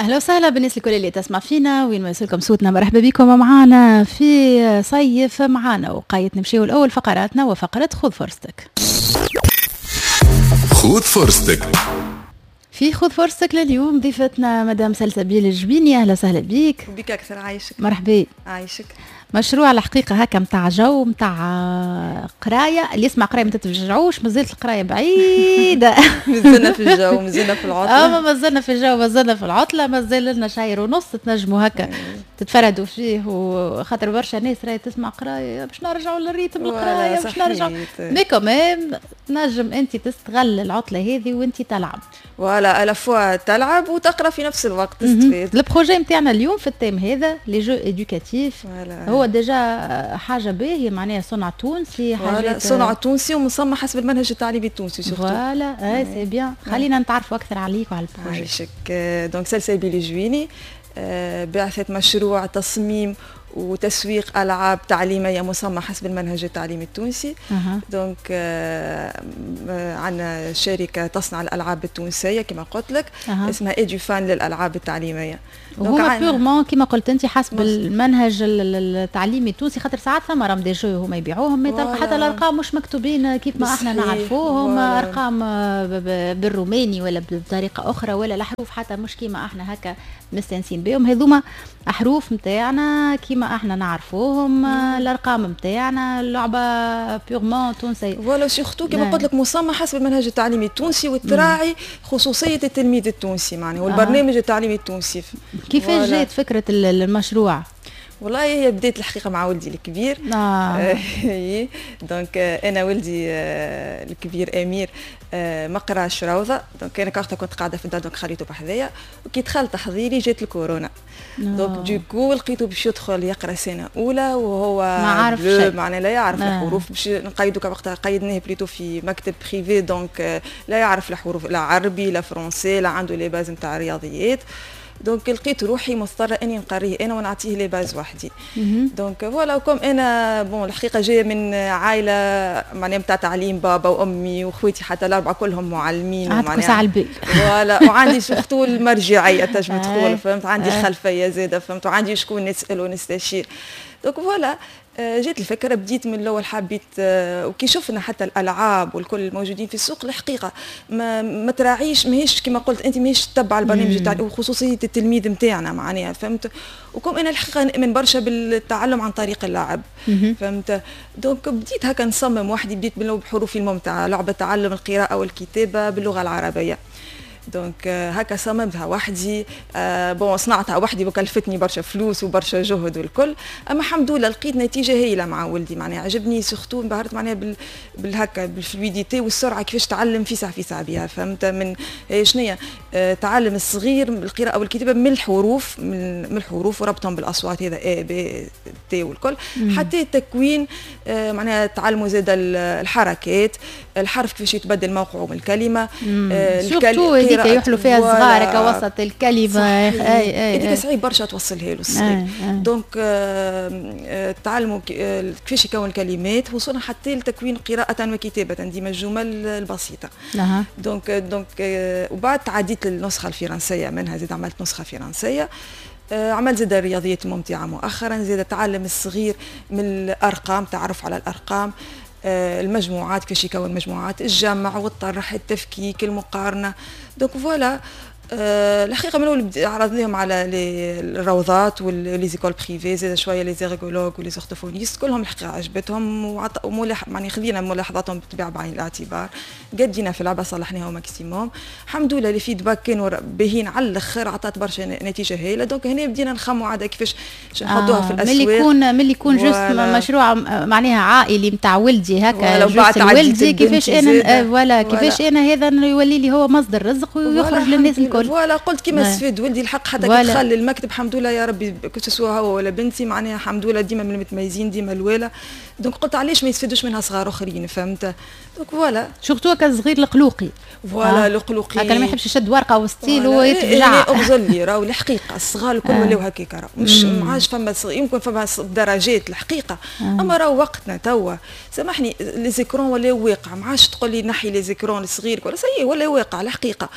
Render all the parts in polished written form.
اهلا وسهلا بالناس الكل اللي تسمع فينا وين ما يوصلكم صوتنا، مرحبا بكم معنا في صيف معنا. وقايت نمشيو الاول فقراتنا وفقره خذ فرصتك. خذ فرصتك. في خذ فرصتك لليوم ضيفتنا مدام سلسبيل الجبيني، اهلا وسهلا بيك. بك اكثر، عايشك. مرحبا. عايشك. مشروع الحقيقة هكا متاع جو متاع قرايه، اللي يسمع قرايه ما تتفجعوش، مازالت القراية بعيده. مازلنا في الجو، مازلنا في العطله. مازلنا في الجو، مازلنا في العطله، مازال لنا شهر ونص تنجموا هكا تتفردوا فيه، وخاطر برشا ناس راهي تسمع قرايه باش نرجعوا لل rythme القراية باش نرجعوا، mais quand même تنجم انت تستغل العطلة هذه وانت تلعب. voilà، à la fois تلعب وتقرا في نفس الوقت، تستفيد. ال projet نتاعنا اليوم في ال thème هذا les jeux éducatifs، هو déjà حاجة باهيه، معناها صنع تونسي. حاجة صنع تونسي ومصمم حسب المنهج التعليمي التونسي surtout. voilà، اي c'est bien. خلينا نتعرفوا اكثر عليك وعلى ال projet. عايشك. donc سلسبيل الجويني، باعثة مشروع تصميم وتسويق العاب تعليمية مصممه حسب المنهج التعليمي التونسي. donc عندنا شركة تصنع الالعاب التونسية كما قلت لك، اسمها ايدوفان للالعاب التعليميه. وهما purement كما قلت انت حسب المنهج التعليمي التونسي، خاطر ساعات ثم راهم des jeux هما يبيعوهم تلقى حتى الارقام مش مكتوبين كيف ما احنا نعرفوهم، ارقام بالروماني ولا بطريقة اخرى، ولا الحروف حتى مش كيما احنا هكا مستانسين بهم. هذوما حروف نتاعنا كيما احنا نعرفوهم، الارقام نتاعنا، اللعبة purement تونسيه. voilà، surtout كما قلت لك مصممه حسب المنهج التعليمي التونسي وتراعي خصوصية التلميذ التونسي معناها والبرنامج التعليمي التونسي. كيفاش جات فكرة المشروع؟ والله هي بديت الحقيقة مع ولدي الكبير. Donc انا ولدي الكبير امير ما قراش روضه، donc انا وقتها كنت قاعدة في الدار، donc خليته بحذايا، وكي دخل تحضيري جات الكورونا. donc du coup لقيته باش يدخل يقرا سنة اولى وهو ما عارف شيء، معناها لا يعرف الحروف. باش نقيدو وقتها قيدناه plutôt في مكتب privé، donc لا يعرف الحروف، لا عربي لا français، لا عنده les bases نتاع الرياضيات. donc لقيت روحي مضطرة اني نقريه انا ونعطيه les bases وحدي. donc voilà، comme انا bon الحقيقة جاية من عائلة معناها نتاع تعليم، بابا وامي واخواتي حتى الاربعة كلهم معلمين. ومعناها على البال. voilà، وعندي surtout المرجعية تنجم تقول، فهمت، عندي خلفية زاده، فهمت، وعندي شكون نسال ونستشير. donc voilà، جات الفكره، بديت من الاول حبيت وكي شفنا حتى الالعاب والكل الموجودين في السوق الحقيقة ما تراعيش، ماهيش كما قلت انت، ماهيش تتبع البرنامج تاع وخصوصيه التلميذ نتاعنا معناها، فهمت. و comme انا الحقيقة نؤمن برشا بالتعلم عن طريق اللعب، فهمت. donc بديت هكا نصمم وحدي، بديت بحروف الممتعه، لعبه تعلم القراءة والكتابة باللغة العربيه. donc هكا صممتها وحدي، bon صنعتها وحدي وكلفتني برشا فلوس وبرشا جهد والكل، اما الحمد لله لقيت نتيجة هايلة مع ولدي. معناها عجبني، surtout انبهرت معناها بالهكا بال fluidité والسرعه، كيفاش تعلم فيسع فيسع بها، فهمت. من شنيا تعلم الصغير القراءة والكتابة من الحروف، من الحروف وربطهم بالاصوات، هذا A B T والكل، حتى التكوين معناها تعلموا زاد الحركات، الحرف كيفاش يتبدل موقعه من الكلمه. surtout هذيك يحلوا فيها الصغار كوسط الكلمه. اي اي هذيك صعيب برشا توصلها له الصغير. donc تعلموا كيفاش يكون الكلمات، وصلنا حتى لتكوين قراءة وكتابة ديما الجمل البسيطة. Donc وبعد تعديت للنسخة الفرنسية منها، زيد عملت نسخة فرنسية. عمل زاد الرياضيات الممتعة مؤخرا، زاد تعلم الصغير من الأرقام، تعرف على الأرقام، المجموعات، كيفاش يكون مجموعات، الجمع والطرح، التفكيك، المقارنة. donc voilà، الحقيقة من الاول عرضناهم على الروضات و les écoles privées، زاد شوية les ergologues و les orthophonistes، كلهم الحقيقة عجبتهم وملاح، يعني خذينا ملاحظاتهم بالطبيعة بعين الاعتبار، قدينا في اللعبه، صلحناها maximum. الحمد لله les feedbacks كانوا باهين على الاخر، عطات برشا نتيجة هايله. donc هنا بدينا نخموا عاد كيفاش نحطوها في الاسواق. ملي يكون juste مشروع معناها عائلي نتاع ولدي هكا، juste ولدي، كيفاش انا voilà كيفاش انا هذا يولي لي هو مصدر رزق ويخرج للناس الكل. voilà، قلت كيما استفاد ولدي الحق حتى كي دخل للمكتب الحمد لله يا ربي، que ce soit هو ولا بنتي، معناها الحمد لله ديما من المتميزين، ديما الوالا. donc قلت علاش ما يستفادوش منها صغار اخرين، فهمت. donc voilà. surtout هكا الصغير القلوقي. voilà، القلوقي. هكا ما يحبش يشد ورقة وستيل ويتفجع. اغزر لي راهو الحقيقة الصغار الكل ولاو هكاك، راهو مش ما عادش فما، يمكن فما درجات الحقيقه، اما راهو وقتنا توا سامحني les écrans ولاو واقع، ما عادش تقول لي نحي les écrans الصغير ولا ça y est، ولا واقع الحقيقه.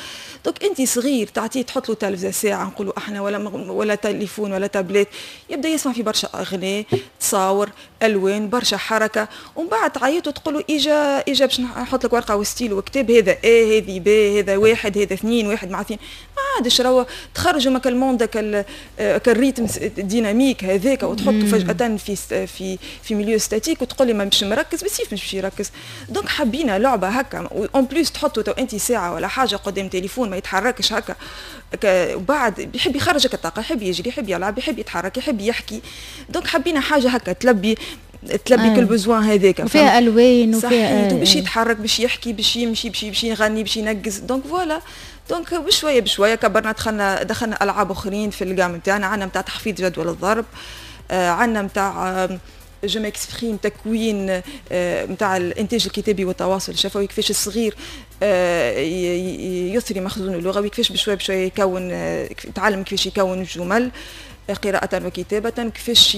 donc انت صغيرك صغير تعطيه تحط له تلفزه ساعة نقولوا احنا ولا تليفون ولا تابلت، يبدا يسمع في برشا اغاني، تصاور، الوان، برشا حركه، ومن بعد تعيط وتقول له اجا اجا باش نحط لك ورقة وستيل وكتاب، هذا A، هذه B، هذا واحد، هذا اثنين، واحد مع اثنين. ما عادش راهو تخرجوا من ال monde ال rythme dynamique هذاك وتحطه فجاة في milieu statique وتقول لي ما مش مركز، بالسيف مش باش يركز. donc حبينا لعبه هكا، en plus تحطوا تو انت ساعة ولا حاجة قدام تليفون ما يتحركش هكا، وبعد بيحب يخرجك الطاقه، يحب يجري، يحب يلعب، يحب يتحرك، يحب يحكي. donc حبينا حاجة هكا تلبي كل besoin هذاك. وفيها الوان وفيها باش يتحرك، باش يحكي، باش يمشي، باش يغني، باش ينقز. donc voilà، donc بشوية بشوية كبرنا، دخلنا العاب اخرين في ال gamme نتاعنا. عندنا نتاع تحفيظ جدول الضرب، عندنا نتاع je m'exprime، تكوين نتاع الانتاج الكتابي والتواصل الشفوي، كيفاش الصغير يثري مخزونه اللغوي، كيفاش بشوية بشوية يكون يتعلم كيفاش يكون الجمل قراءة وكتابة، كيفاش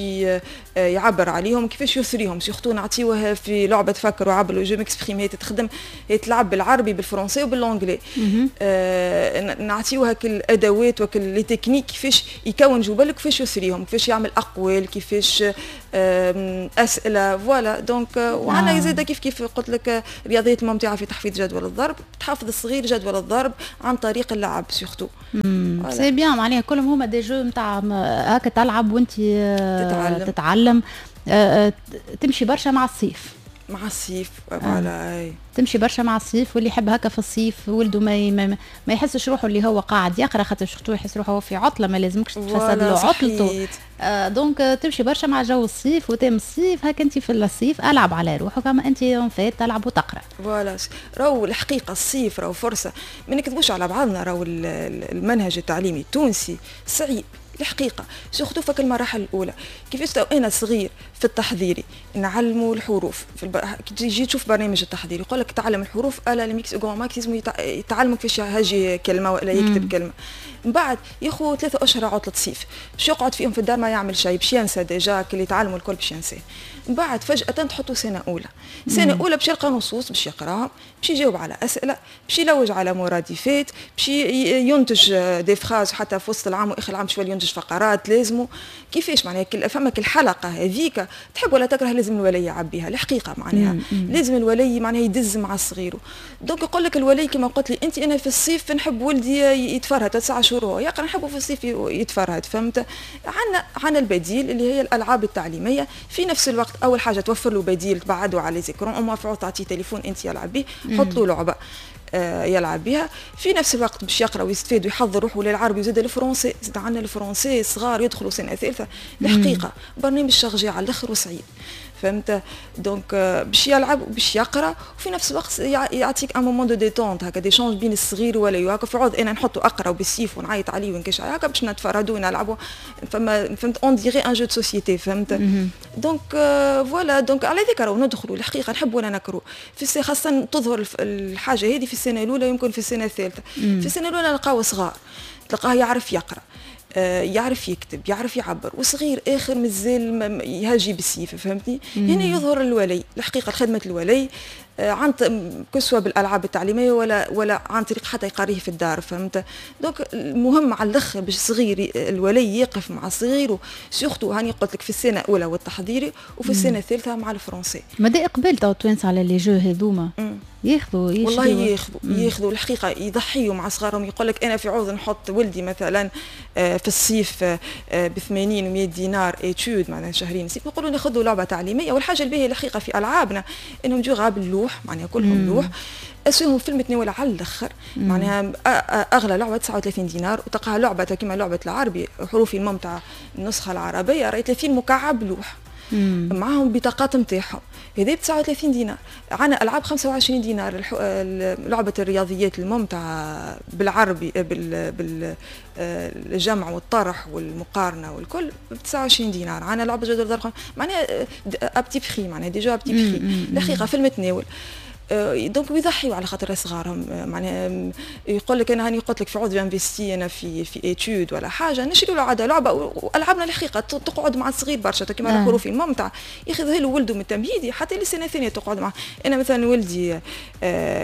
يعبر عليهم، كيفاش يثريهم. surtout نعطيوه في لعبة فكر وعبر، je m'exprime، هي تخدم، هي تلعب بالعربي، بال français وبال anglais. نعطيوها كل الادوات وكل les techniques كيفاش يكون جمل، كيفاش يثريهم، كيفاش يعمل اقوال، كيفاش اسئله. voilà، donc وعندنا زاده كيف كيف قلت لك رياضيات ممتعة في تحفيظ جدول الضرب، تحفظ الصغير جدول الضرب عن طريق اللعب surtout. c'est bien، معناها كلهم هما des jeux نتاع هكا تلعب وانت تتعلم، تتعلم. تمشي برشا مع الصيف. مع الصيف، voilà. تمشي برشا مع الصيف، واللي يحب هكا في الصيف ولده ما يحسش روحه اللي هو قاعد يقرا، خاطر surtout يحس روحه هو في عطله، ما لازمكش تفسد له عطلته. Donc تمشي برشا مع جو الصيف و thème الصيف. هكا انت في الصيف العب على روحك، اما انت en fait تلعب وتقرا. voilà، راهو الحقيقة الصيف راهو فرصه، ما نكذبوش على بعضنا، راهو المنهج التعليمي التونسي صعيب الحقيقه، surtout فك المراحل الاولى. كيفاش تو انا صغير في التحضيري نعلموا الحروف كي تجي تشوف برنامج التحضيري يقول لك تعلم الحروف à la limite au grand max، لازم يتعلموا كيفاش يهجي كلمة ولا يكتب كلمه. من بعد ياخذ 3 اشهر عطله صيف باش يقعد فيهم في الدار ما يعمل شيء، باش ينسى déjà اللي يتعلموا الكل باش ينساه. من بعد فجاة تحطوا سنة اولى، سنة اولى باش يلقى نصوص باش يقراها، باش يجاوب على اسئله، باش يلوج على مرادفات، باش ينتج des phrases، حتى في وسط العام واخر العام شوية ينتج فقرات لازمه. كيفاش معناها فما الحلقة هذيك تحب ولا تكره لازم الولي يعبيها الحقيقه، معناها لازم الولي معناها يدز مع الصغير. donc يقول لك الولي كما قلت لي انت، انا في الصيف نحب ولدي يتفرهد، 9 شهور هو يقرا، نحبه في الصيف يتفرهد، فهمت؟ عندنا البديل اللي هي الالعاب التعليميه. في نفس الوقت اول حاجة توفر له بديل، تبعده على les écrans، au moins تعطيه تليفون انت يلعب به، حط له لعبه يلعب بها. في نفس الوقت باش يقرا ويستفاد ويحضر روحه للعربي وزاد ال français. زاد عندنا ال français، صغار يدخلوا سنة ثالثه، الحقيقة برنامج chargé على الاخر وصعيب، فهمت؟ donc باش يلعب وباش يقرا، وفي نفس الوقت يعطيك un moment de détente هكا، d'échange بين الصغير ولا هكا. في عوض انا نحطه اقرا وبالسيف ونعيط عليه ونكش هكا، باش نتفرهدوا ونلعبوا، فما فهمت، on dirait un jeu de société، فهمت؟ donc voilà، donc على ذيك راهو ندخلوا الحقيقه، نحب ولا نكرهوا، في خاصة تظهر الحاجة هذه في السنة الاولى، يمكن في السنة الثالثه. في السنة الاولى نلقاو صغار تلقاه يعرف يقرا، يعرف يكتب، يعرف يعبر، وصغير اخر مازال يهاجي بالسيف، فهمتني؟ هنا يظهر الولي الحقيقه، خدمة الولي عن que ce soit بالالعاب التعليمية ولا عن طريق حتى يقريه في الدار، فهمت؟ donc المهم على الاخر باش صغير الولي يقف مع صغيرة، surtout هاني قلت لك في السنة الاولى والتحضيري وفي السنة الثالثة مع ال français. مدى اقبال تو التوانسة على les jeux هذوما؟ ياخذوا؟ والله ياخذوا، ياخذوا الحقيقه، يضحيوا مع صغارهم. يقول لك انا في عوض نحط ولدي مثلا في الصيف ب 80 و100 دينار étude معناها شهرين صيف، نقولوا ناخذوا لعبه تعليميه. والحاجة الباهيه الحقيقة في العابنا انهم durables، لوح معناها كلهم لوح، اسوهم في المتناول على الاخر. معناها اغلى لعبه 39 دينار، وتلقاها لعبه كما لعبه العربي حروف الممتعة النسخة العربيه، راهي 30 مكعب لوح معاهم بطاقات نتاعهم، هذه ب 39 دينار. عندنا العاب 25 دينار، لعبه الرياضيات الممتعة بالعربي بالجمع والطرح والمقارنة والكل ب 29 دينار. عندنا لعبه جدول ضرب، معناها à petit prix، معناها des jeux à petit prix الحقيقة في المتناول. donc يضحيوا على خاطر صغارهم. معناها يقول لك انا هاني قلت لك في عوض investir انا في étude ولا حاجه، نشري له عادة لعبه. والعابنا الحقيقة تقعد مع الصغير برشا، كيما الحروف الممتعه، ياخذها له ولده من التمهيدي حتى للسنة الثانية تقعد معه. انا مثلا ولدي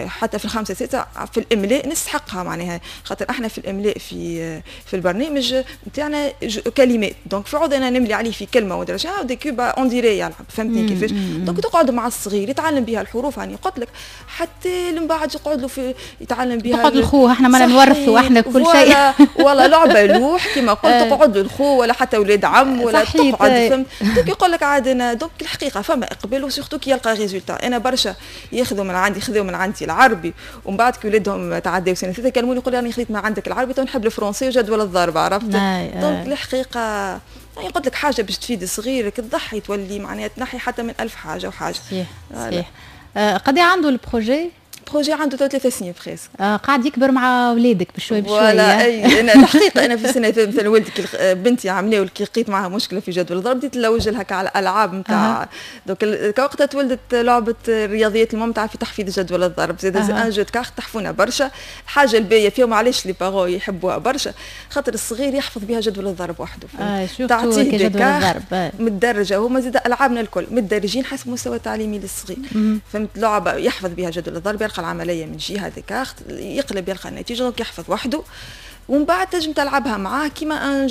حتى في الخامسة ستة في الاملاء نستحقها، معناها خاطر احنا في الاملاء في البرنامج نتاعنا كلمات، donc في عوض انا نملي عليه في كلمة ودرجة des cubes on dirait يلعب، فهمتني كيفاش؟ donc تقعد مع الصغير يتعلم بها الحروف، هاني قلت لك حتى من بعد يقعد له في يتعلم بها. تقعد الخو، احنا ما نورثوا احنا كل شيء. ولا لعبه لوح كما قلت تقعد الخو ولا حتى اولاد عم ولا تقعد، فهمت؟ donc يقول لك عاد انا donc الحقيقة فما اقبال و surtout كي يلقى résultat. انا برشا ياخذوا من عندي، خذوا من عندي العربي، ومن بعد كي ولادهم تعداو سنة ثالثة كلموني، يقول لي انا خذيت ما عندك العربي، تو نحب ال français وجدول الضرب، عرفت؟ donc الحقيقة يعني قلت لك حاجة باش تفيد صغيرك تضحي، تولي معناها تنحي حتى من ألف حاجة وحاجه. صحيح. قد عنده ال projet؟ projet عنده 3 سنين presque. قاعد يكبر مع اولادك بشوي بشوي. voilà، اي انا الحقيقة انا في سنة مثلا ولدي، بنتي عملوا كي لقيت معها مشكلة في جدول الضرب، بديت نلوج لها على الالعاب نتاع donc وقتها تولدت لعبه الرياضيات الممتعة في تحفيظ جدول الضرب زاد un jeu de cartes تحفونا برشا. الحاجة الباهيه فيهم، علاش les parents يحبوها برشا؟ خاطر الصغير يحفظ بها جدول الضرب وحده. تعطيه جدول الضرب متدرجه، هما زاد العابنا الكل متدرجين حسب المستوى التعليمي للصغير، فهمت؟ لعبه يحفظ بها جدول الضرب، يلقى العملية من جهة des cartes، يقلب يلقى النتيجه، donc يحفظ وحده. ومن بعد تنجم تلعبها معاه كيما un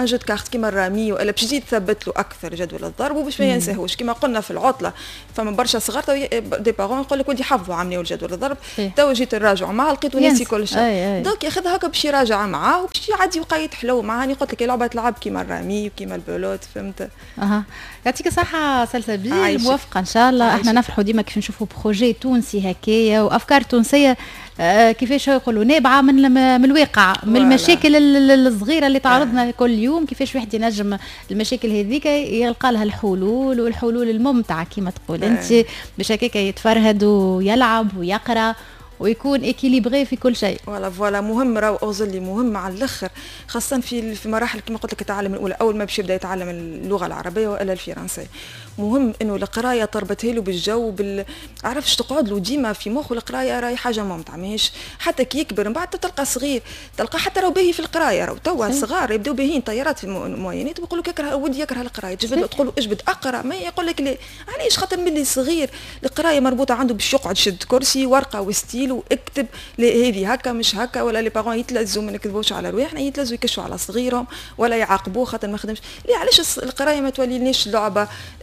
jeu de cartes كيما الرامي ولا باش تزيد تثبت له اكثر جدول الضرب وباش ما ينساهوش. كيما قلنا في العطلة فما برشا صغار des parents يقول لك ولدي حفظوا عملية الجدول الضرب، تو جيت نراجع معاه لقيته ناسي كل شيء. donc ياخذها هكا باش يراجع معاه وباش يعدي وقيت حلو معاه. قلت لك لعبه تلعب كيما الرامي وكيما ال belote، فهمت؟ اها، يعطيك الصحة سلسبيل، موفقة إن شاء الله. احنا نفرحوا ديما كيف نشوفوا projet تونسي هكايا وأفكار تونسية كيفاش يقولوا نابعة من الواقع، من المشاكل الصغيرة اللي تعرضنا كل يوم، كيفاش واحد ينجم المشاكل هذيك يلقى لها الحلول، والحلول الممتعة كما تقول أنت، باش هكاك يتفرهد ويلعب ويقرأ ويكون équilibré في كل شيء. voilà voilà، مهم راهو اوزلي مهم على الاخر، خاصة في مراحل كما قلت لك التعلم الاولى، اول ما باش يبدا يتعلم اللغة العربية والا الفرنسية. مهم انه القراية تربطها له بالجو عرفش، تقعد له ديما في مخه القراية راهي حاجة ممتعه، ماهيش حتى كي يكبر من بعد تلقى صغير تلقى حتى راهو باهي في القرايه. راهو توا صغار يبداو باهيين طيارات في ال moyennes ويقول لك يكره ودي يكره القرايه، تجبد تقول له اجبد اقرا ما يقول لك لا. علاش؟ خاطر ملي صغير القراية مربوطة عنده باش يقعد شد كرسي ورقة وستيل واكتب، لا هذه هكا مش هكا. ولا les parents يتلزوا، ما نكذبوش على رواحنا، يتلزوا يكشوا على صغيرهم ولا يعاقبوه خاطر ما خدمش. لا، علاش القراية ما توليناش لعبه؟